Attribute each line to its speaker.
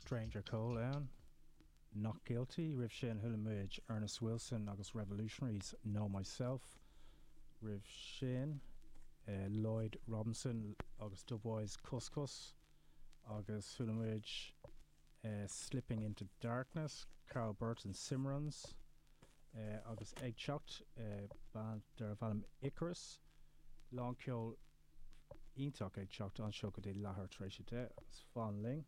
Speaker 1: Stranger Cole ann, Not Guilty. Roimh sin chuala muid Ernest Wilson agus Revolutionaries, Know Myself. Roimh sin Lloyd Robinson agus Dubwise, Cus Cus. Agus chuala muid Slipping Into Darkness, Carl Burton, Cimarrons. Agus ag teacht, band darbh ainm Icarus. Lán ceol iontach ag teacht anseo go dtí leathuair tar éis 10 agus fan linn.